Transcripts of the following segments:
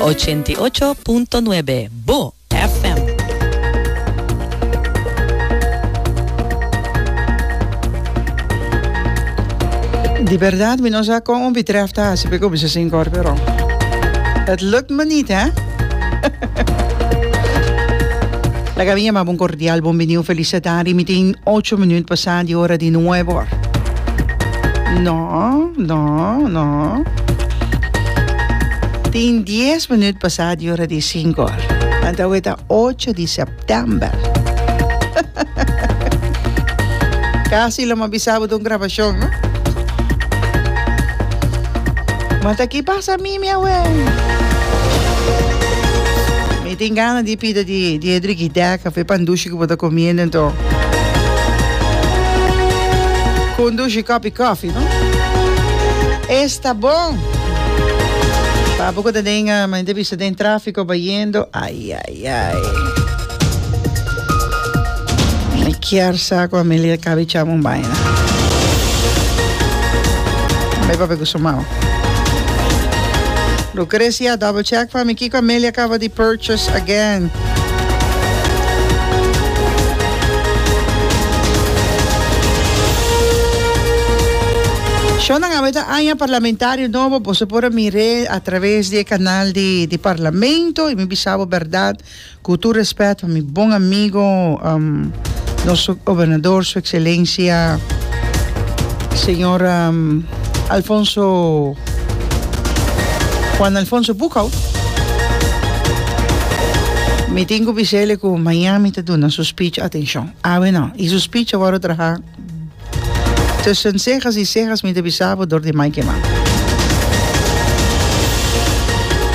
88.9 Bo FM. Di berdad mi no sa con un betreft ta haci pa e cuminsa sin cor pero het lukt me niet hè. Laga mi yama bo un cordial bon bini un feliz satari mi tin ocho minuut pasa di ora di nuebe or. No, no, no. Tin dies minuut pasa di ora di cinco or. Anto awe ta ocho di september. Casi lo m'a bisa bo ta un grabacion, no? Ma ta ki pasa mi, mi awe? Mi tin gana di pida di di e drikidek of e pandushi ku bo ta komiendo anto. Ku un dushi kopi kofi, no? Esta bon! Pa bo ku ta den, mi ta bisa den trafiko bayendo, ai ai ai. Mi kier sa ku Amelia kabi chama un baina. Bai papia ku su mama. Lucrecia, double check pa mi kiko Amelia kaba di purchase again. Shownan awe ta aña parlamentario nobo, boso por a mir'é a traves di e canal di di parlamento y mi bisa bo berdad cu tur respet pa mi bon amigo nos gobernador su excelencia señor Alfonso Juan Alfonso Boekhoudt mi tin cu bisele cu mañan mi ta duna su speech atencion awe no y su speech a worde traha Tussen cejas y cejas mi ta bisa bo dor di Mike Eman.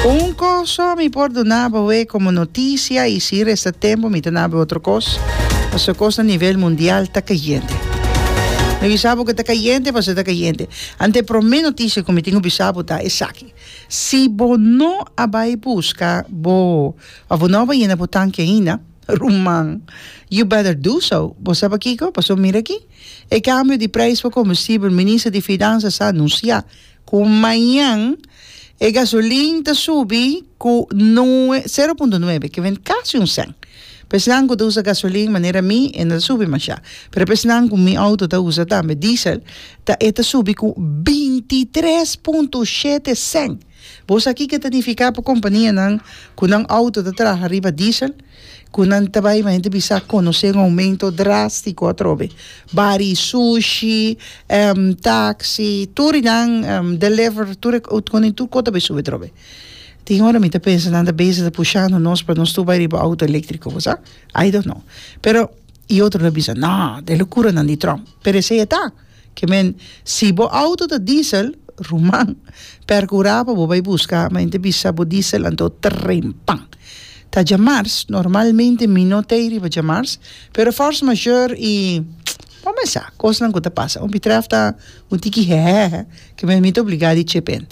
Un cos so mi por duna bo we como noticia y si resta tempo mi ta na bo otro cos, pasobra cos na nivel mundial ta cayente. Mi bisa bo cu ta cayente pasobra ta cayente. Ante e prome noticia cu mi tin cu bisa bo ta esaki, si bo no a bay busca bo of bo no a bay yena bo tanki ainda, Ruman, you better do so. Bo sa pakiko? Pasobra mira aki, e kambio di preis pa kombustibel, Minister di Finansa sa anunsiá ku mañan e gasolin ta subi ku nue, sero punto nuebe, ke ven kasi un sèn. Pa esnan ku ta usa gasolin manera mi, e no ta subi mashá. Pero pa esnan ku mi outo ta usa tambe diesel, ta e ta subi ku 23.7 sèn. Bo sa kiko ta nifiká pa kompanianan ku nan outo ta traha riba diesel? Ku nan ta bai ma hende bisa konosé un oumento drástiko atrobe. Bari sushi, taksi, tur i nan deliver, tur e tur kos ta bai subi atrobe. Tin ora mi ta pensa nan ta bezig ta pushando nos pa nos tur bai riba outo eléktriko, bo sa? I don't know. Pero i otro ta bisa, no, ta e lokuranan di Trump. Pero esei e ta. Ke men, si bo auto ta diesel, ruman, percura pa bo bay busca, ma hende bisa bo diesel anto trempan. Ta djamars, normalmente mi no ta ey riba djamars, pero force majeure y bo mes sa, cosnan cu ta pasa. Un betreft ta un tiki hehehe, ke men mi ta obliga di chip in.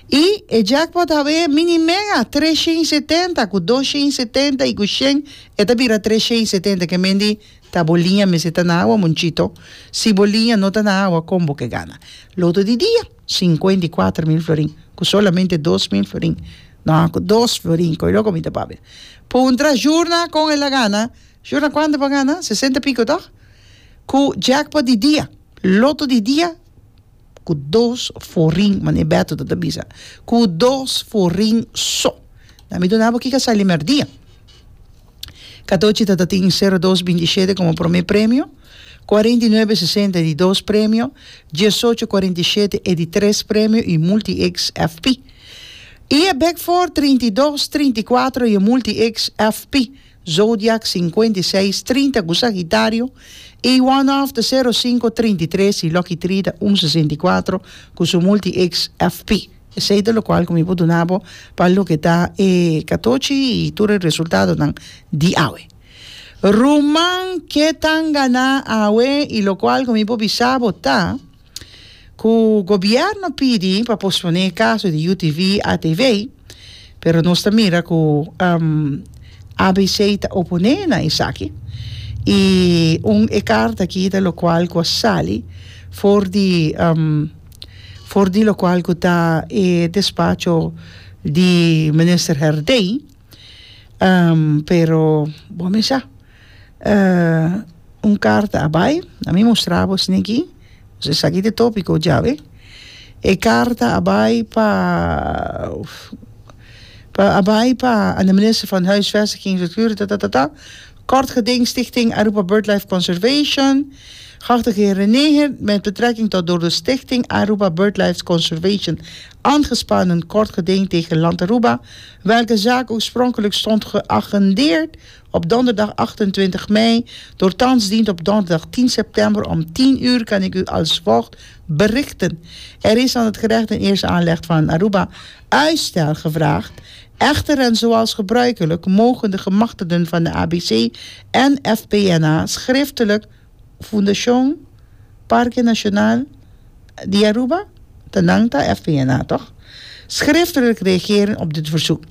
Y e jackpot hawe mini mega, 370 cu 270 y cu shen e ta bira 370, ke men di Ta bo liña mester ta na awa, Monchito. Si bo liña no ta na awa, kon bo ke gana? Loto di dia, 54 mil florin, ku solamente 2000 florin. No, ku dos florin, koe loko mi ta papia. Puntra Jurna kon el a gana. Jurna kuantu bo a gana? Sesenta piko tòg? Ku jackpot di dia, loto di dia, ku dos forin, manera Beto ta ta bisa, ku dos forin so. Na mi duna bo kiko a sali mèrdia. Katochi ta ta tin sero dos binti shete komo promé premio, 49 sesenta e di dos premio, 18 47 e di tres premio i Multi X FP. I e Big Four 32 34 i e Multi X FP. Zodiac 56 30 ku Sagitario i One Off ta sero sinku 33 i Lucky Three ta un 64 ku su Multi X FP. Esei ta lokual ku mi por duna bo pa loke ta e katochi i tur e resultadonan di awe. Ruman ke tan ganá awe i lokual ku mi por bisa bo ta ku gobièrnu a pidi pa posponé e kaso di UTV ATV, pero nos ta mira ku ABC ta oponé na esaki i un e karta aki ta lokual ku a sali for di For di lokual ku ta e despacho di minister Herdé, pero bo mi sa un karta a bai, a mi mustra bo esaki aki, esaki ta e topiko djawe, e karta a bai pa a bai pa de minister van Huisvesting Infrastructuur tatatata, Kort geding Stichting Aruba Birdlife Conservation, Geachte heer René met betrekking tot door de Stichting Aruba Birdlife Conservation aangespannen kort geding tegen Land Aruba, welke zaak oorspronkelijk stond geagendeerd op donderdag 28 mei, door thans dient op donderdag 10 september om 10 uur kan ik u als volgt berichten. Er is aan het gerecht in eerste aanleg van Aruba uitstel gevraagd. Echter en zoals gebruikelijk mogen de gemachtigden van de ABC en FPNA schriftelijk Fundacion Parke Nacional di Aruba, ta nan ta FPNA toch? Schriftelijk reageren op dit verzoek.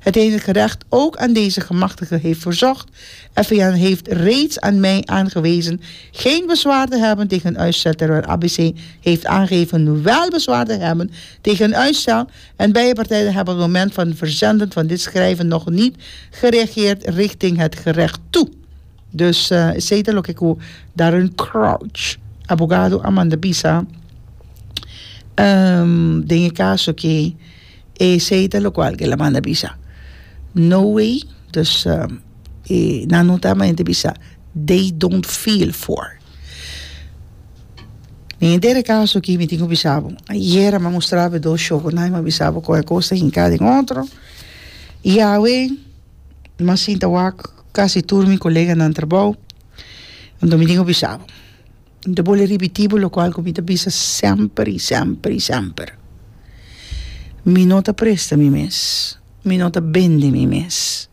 Hetgeen het gerecht ook aan deze gemachtigden heeft verzocht. FPNA heeft reeds aan mij aangewezen geen bezwaar te hebben tegen uitstel, terwijl ABC heeft aangegeven wel bezwaar te hebben tegen uitstel. En beide partijen hebben op het moment van verzenden van dit schrijven nog niet gereageerd richting het gerecht toe. Dus esey ta loke ku Darren Crouch, abogado a manda bisa den e kaso ki esey ta lokual ku el a manda bisa. No way, dus e nan no ta manda bisa they don't feel for. Den henter e kaso aki mi tin ku bisa bo, ayera mi a mustra bo e dos show ku nan mi a bisa bo kon e kos ta hinká den otro i awe. Mi a sinta wak kasi tur mi koleganan trabou, anto mi tin ku bisa bo, mi ta bolbe ripití bo lokual ku mi ta bisa semper i semper i semper, mi no ta presta mi mes, mi no ta bende mi mes,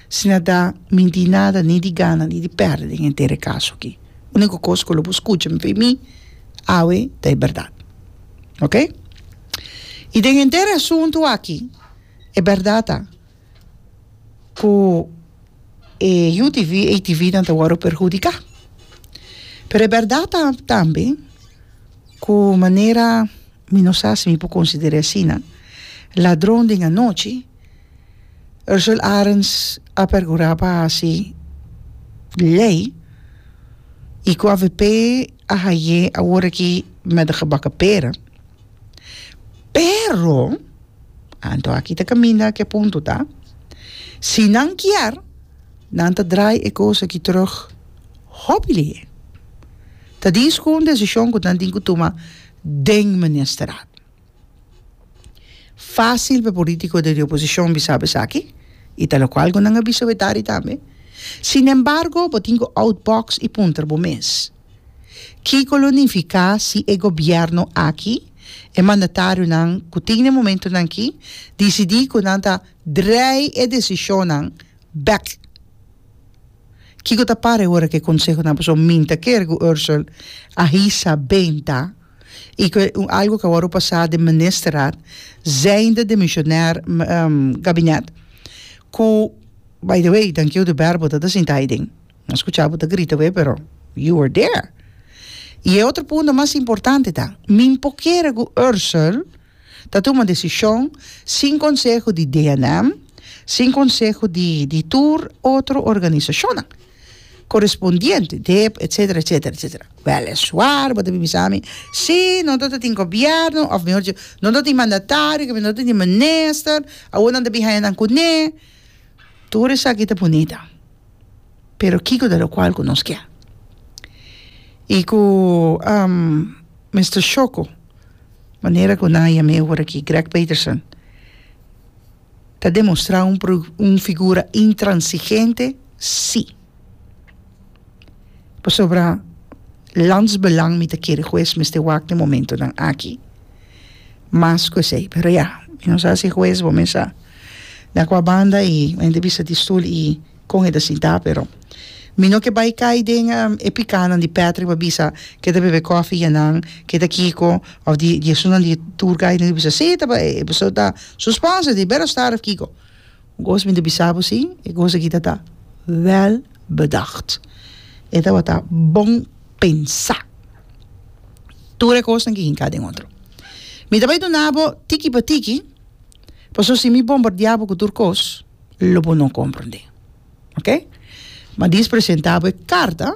si na ta mi tin nada ni di gana ni di pèrdè den henter e kaso aki. Úniko kos ku lo bo skucha mi mi awe ta e bèrdat, oke? I den henter e asuntu aki e bèrdat ta. Ku e UTV, ATV nan ta wòrdu perhudiká. Pero e bèrdat ta tambe ku manera mi no sa si mi por konsider'é asina, ladron den anochi, Ursel Arends a perkurá pa hasi lei i ku avp a haye awor aki met de gebakken pera. Pero. Anto aki ta kaminda ku e punto ta, si nan kier, nan ta draai e kos aki terug hopi lihé. Ta dis ku un desishon ku nan tin ku tuma den ministerat. Fásil pa e polítiko di oposishon bisa bo esaki, i ta lokual ku nan a bisa wetari tambe. Sinembargo, bo tin ku outbox i puntra bo mes. Kiko lo nifiká si e gobièrnu aki, e mandatarionan ku tin na e momentunan aki, disidí ku nan ta drei e desishonnan bèk? Kiko ta para e ora ku e konsehonan pasobra mi ta kere ku Ursel a hisa benta i ku algu ku a wòrdu pasá den ministerraad zijnde demissionair gabinet ku by the way Dankiu de Berbo ta ta sinta aiden. No skucha bo ta grita wei pero you were there. I e otro punto mas importante ta, mi por kere ku Ursel ta tuma desishon sin konseho di DNM, sin konseho di di tur otro organisashonnan korespondiente, dip, etsetera, etsetera, etsetera. Wèleswar bo ta bin bisa mi, si, no ta tin gobièrnu òf mihor dicho no ta tin mandatario, no ta tin minister, awor nan ta bin haña nan kuné. Tur esaki ta bunita. Pero kiko ta lokual ku nos ke? I ku Mister Shoko, manera ku nan a yam'é ora aki, Greg Peterson, ta demostrá un un figura intransigente? Sí. Pasobra landsbelang mi ta kere hues mester wak den momentonan aki mas ku esei. Pero ya, mi no sa si hues bo mes sa na kua banda i hende bisa di stul i kon e ta sinta pero mi no ke bai kai den e pikanan di Patrick pa bisa ke ta bebe kofi yanan ke ta kiko of di di esunnan di tour guide nan bisa si ta e pasobra ta su sponsor di Berostar of kiko. Un kos mi ta bisa bo si, e kos aki ta ta wel bedacht. E tabata bon pensá. Tur e kosnan ki hinká den otro. Mi ta bai duna bo tiki pa tiki. Pasobra si mi bombardiá bo ku tur kos, lo bo no komprondé. Ok? Ma dis presentá bo e karta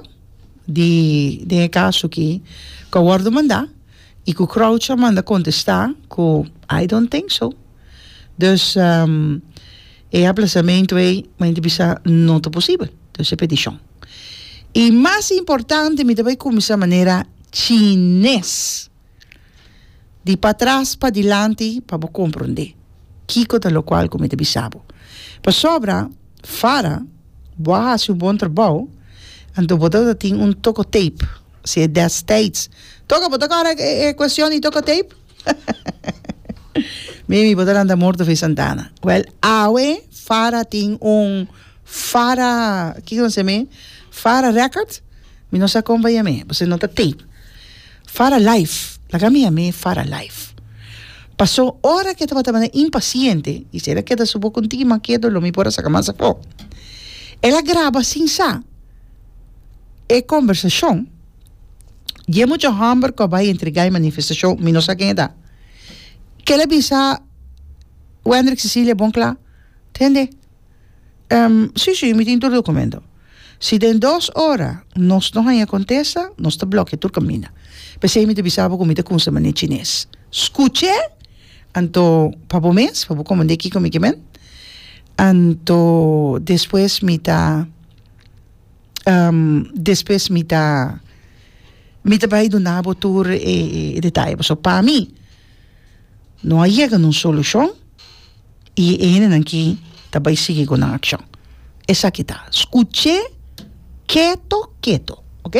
di den e kaso ki ku a wòrdu mandá i ku Crouch a manda kontestá ku I don't think so. Dus e aplasamentu ei mi ta bisa no ta posibel. Dus e petishon. I mas importante mi ta bai kuminsá manera chines. Di patras pa dilanti pa bo komprondé kiko ta lokual ku mi ta bisa bo. Pasobra Fara, bo a hasi un bon trabou, anto bo tabata tin un toko tape, si e destijds. Toko, bo ta kòrda e kuestion di toko tape? Mimi, bo ta lanta morto fe Santana. Wèl, awe Fara tin un Fara, kiko nan seme? Fara record? Mi no sa kon pa yam'é, pasobra no ta tape. Fara life, laga mi yam'é Fara life. Paso ora ke tabata manera impaciente, i si el a keda su boca un tiki mas ketu lo mi por a saca mas afó. El a graba sin sa e conversacion di e mucha homber cu a bay entrega e manifestacion, mi no sa ken e ta, ke el a bisa Wendrick Cecilia bon cla, tende, Si, si, mi tin tur documento. Si den dos ora nos no haña contesta, nos ta blokia tur caminda. P'esei mi ta bisa bo cu mi ta cunsa manera chines. Scuch'é, anto pa bo mes, pa bo comprende kico mi ke men. Anto despues mi ta, despues mi ta, mi ta bay duna bo tur e detaye. Pasobra pa mi no a yega na un solucion. I e hendenan ki ta bai sigui ku nan akshon. Esaki ta, skuch'é keto keto, ok?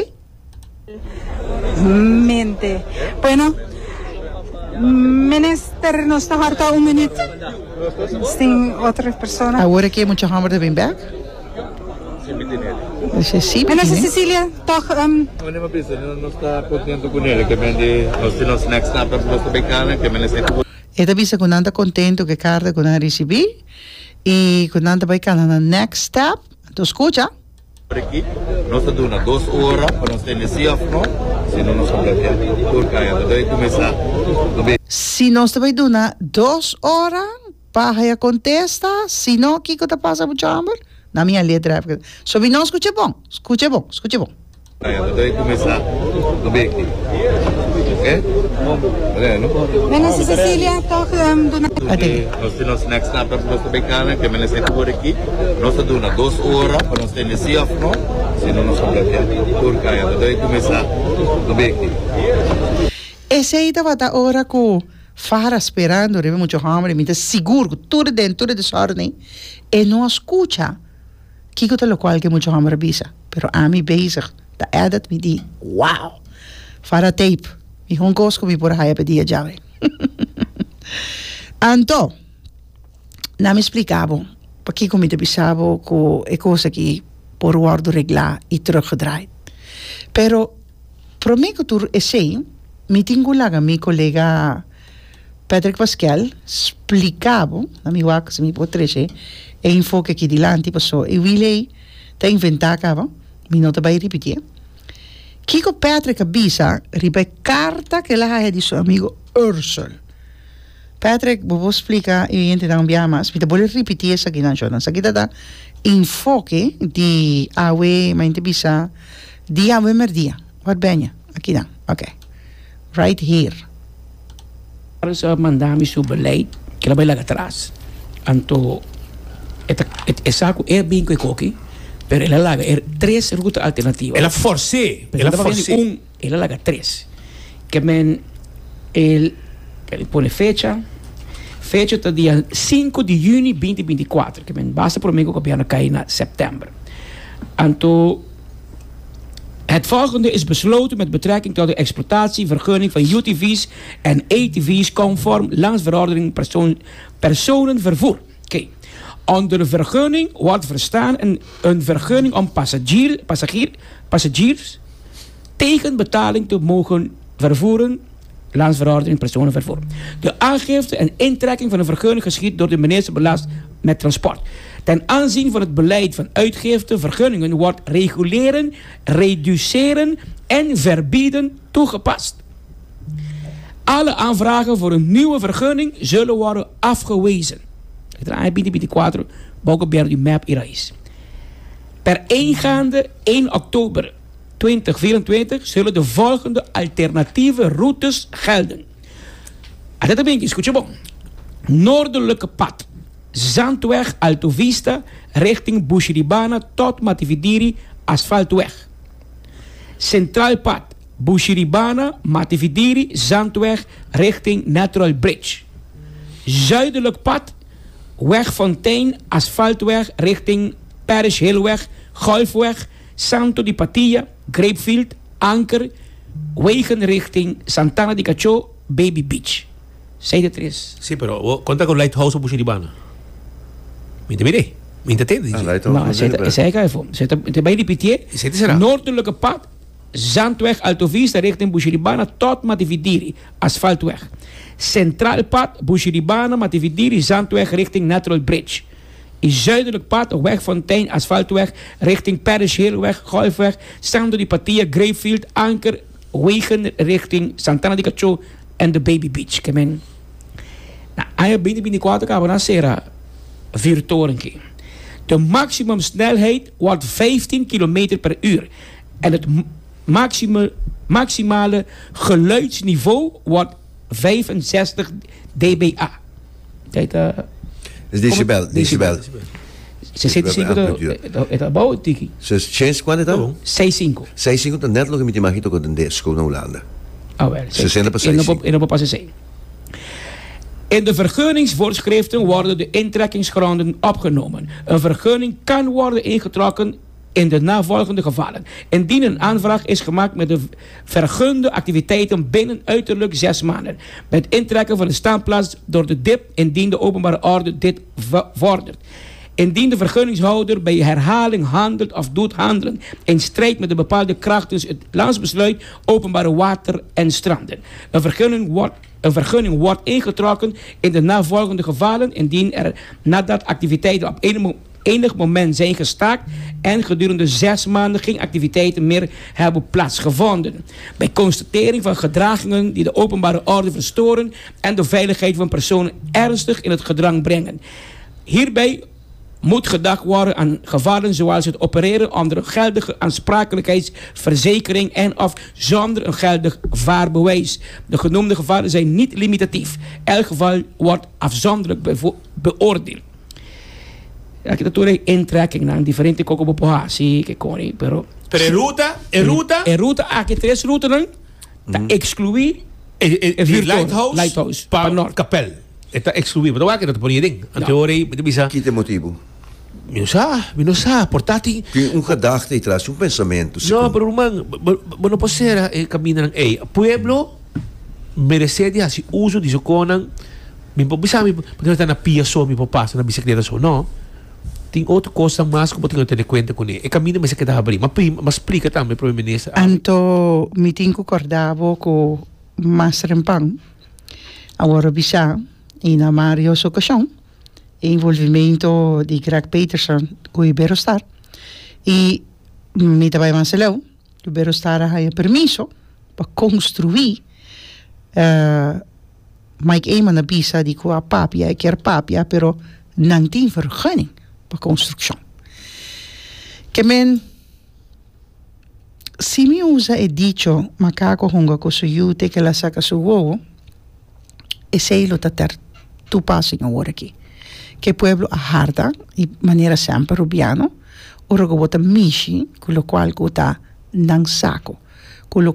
Mente. Bueno, Minister, nos ta harta un minuut. Nos tin otro persona. Awor aki e mucha homber ta bin bek. Dice, sí, mi Minister tine. Cecilia, toch. Nos ta contento cu nele, ke men di nos tin nos next stap, nos ta bay cana, ke men esey cu. E ta bisa ku nan ta kontentu ku e karta ku nan a risibí i ku nan ta bai kana nan next step. Anto skucha. Por aki nos ta duna dos ora pa nos tende si of no, si no nos ta blokea tur kaya. Ta debe kuminsá no be. Si nos ta bai duna dos ora pa haya kontesta, si no kiko ta pasa mucha hòmber? Na mi a letra. So mi no skucha bon, skucha bon, skucha bon. Minister Cecilia toch duna. Nos tin nos next stap nos ta bay cana ke minister ku por aki nos ta duna dos ora pa nos tende si of no si no nos ta blokea tur kaya ta debe kuminsa no beki. Esey tabata ora ku Farah sperando riba mucha homber mi ta sigur ku tur den tur e desorden e no a skucha. Kiko ta lokual ke mucha hòmber a bisa? Pero ami bezig ta edit mi di wow! Fara tape, mihó kos ku mi por a haya pa e dia djawe. Anto, na mi splika bo pakiko mi ta bisa bo ku e kos aki por wòrdu reglá i teruggedraaid. Pero promé ku tur esei, mi tin ku laga mi kolega Patrick Paskel splika bo, na mi wak si mi por trece e enfoke aki dilanti paso e wiel ey ta inventa caba, mi no ta bay ripitié. Kico Patrick a bisa riba e carta cu el a haya di su amigo Ursel? Patrick, bo por splika e oyentenan un biaha mas? Mi ta bolbe ripiti esakinan shornan. Esaki ta ta enfoke di awe, mi a bisa di awe merdia. Wat ben je? Akinan, ok. Right here. Carlos a manda mi su beleid ke el a bai laga atras. Anto e ta e sa ku e bin ku e koki, pero el a laga e tres ruta alternativa. El a fors'é, el a fors'é. Un, el a laga tres. Ke men el el pone fecha, fecha ta dia sinku di yüni binti binti kuater, ke men basta promé ku gobièrnu kai na sèptèmber. Anto. Het volgende is besloten met betrekking tot de exploitatievergunning van UTV's en ATV's conform landsverordening persoon, personenvervoer. Oké. Onder vergunning wordt verstaan een, een vergunning om passagier, passagier, passagiers tegen betaling te mogen vervoeren Landsverordening Personenvervoer. De aangifte en intrekking van een vergunning geschiedt door de minister belast met transport. Ten aanzien van het beleid van uitgifte vergunningen wordt reguleren, reduceren en verbieden toegepast. Alle aanvragen voor een nieuwe vergunning zullen worden afgewezen. E aña 2024 bou gobierno di mep y Raiz. Per ingaande 1 oktober 2024 zullen de volgende alternatieve routes gelden. Ata ta binki, scucha bon. Noordelijke pad, Zandweg Alto Vista richting Bushiribana tot Matividiri Asfaltweg. Centraal pad, Bushiribana, Matividiri, Zandweg richting Natural Bridge. Zuidelijk pad, Weg Fontein, Asfaltweg richting Parish Hillweg, Golfweg, Santo di Patilla, Grapefield, Anker, wegen richting Santana di Cachó, Baby Beach. Sei de tres. Sí, pero bo konta ku Lighthouse op Bushiribana? Mi ta mir'é. Mi ta tende Ah, dje. Lighthouse No, esei ta, esei ka efo. Esei ta, ta bai ripitié. Esei ta será. Noordelijke pad, Zandweg Alto Vista richting Bushiribana tot Matividiri, Asfaltweg. Centraal pad, Bushiribana, Matividiri, Zandweg richting Natural Bridge. I zuidelijk pad, Weg Fontein, Asfaltweg richting Parish Hillweg, Golfweg, Santo di Patia, Grapefield, Anker, wegen richting Santana di Cachó en de Baby Beach. Ke men na aña 2024 kaba nan sera vuurtoren. De maximumsnelheid wordt 15 km per uur. En het maximale geluidsniveau wordt 65 dBA. Tijd, Is decibel, decibel. 65 e ta abou tiki. Chens cuanto ta? 65. 65 ta net loke mi ta imagina cu den school na Hulanda. Ah wel. 60 pa E no por, 65. e no por pasa esey. In de vergunningsvoorschriften worden de intrekkingsgronden opgenomen. Een vergunning kan worden ingetrokken in de navolgende gevallen. Indien een aanvraag is gemaakt met de vergunde activiteiten binnen uiterlijk 6 maanden. Bij het intrekken van de staanplaats door de DIP indien de openbare orde dit vordert. Indien de vergunningshouder bij herhaling handelt of doet handelen in strijd met de bepaalde krachtens het landsbesluit openbare water en stranden. Een vergunning wordt ingetrokken in de navolgende gevallen indien er nadat activiteiten op enig moment zijn gestaakt en gedurende 6 maanden geen activiteiten meer hebben plaatsgevonden. Bij constatering van gedragingen die de openbare orde verstoren en de veiligheid van personen ernstig in het gedrang brengen. Hierbij moet gedacht worden aan gevallen zoals het opereren onder een geldige aansprakelijkheidsverzekering en of zonder een geldig vaarbewijs. De genoemde gevallen zijn niet limitatief. Elk geval wordt afzonderlijk beoordeeld. Ja, kita tur e intrekking nan diferente koko bo por hasi ke koni pero Pero e ruta, e ruta. E ruta aki tres rutanan ta exclui E, e, e vuurtoren, lighthouse, lighthouse, pa pa nort. Kapel. E ta exclui, bo ta wak e no ta pone den. Anto ora ei bo ta bisa. Ki ta e motibu? Mi no sa, mi no sa, por ta tin. Tin un gedachte ei tras, un pensamentu. No, pero ruman, bo, bo no por sera e kamindanan ei. Pueblo meresé di hasi uso di su konan. Mi por bisa mi, bo ta na pia so mi por pasa, na bisikleta so. No. Tin otro kosnan mas ku bo tin ku tene kuenta kuné. E kaminda mester keda habrí. M'a prim, m'a splika tambe Prome Minister. Anto mi tin ku kòrda bo ku mas rempan a wòrdu bisá i na varios okashon e involvimento di Greg Peterson ku Iberostar i mi ta bai mas leu Iberostar a haña permiso pa konstruí Mike Eman a bisa di ku a papia e kier papia pero nan tin vergunning pa konstrukshon. Ke men si mi usa e dicho makako hunga ku su yu te ke el a saka su wowo esei lo ta ter toepassing awor aki. Ke pueblo a harta i manera semper Rubiano ora ku bo ta mishi ku lokual ku ta nan sako.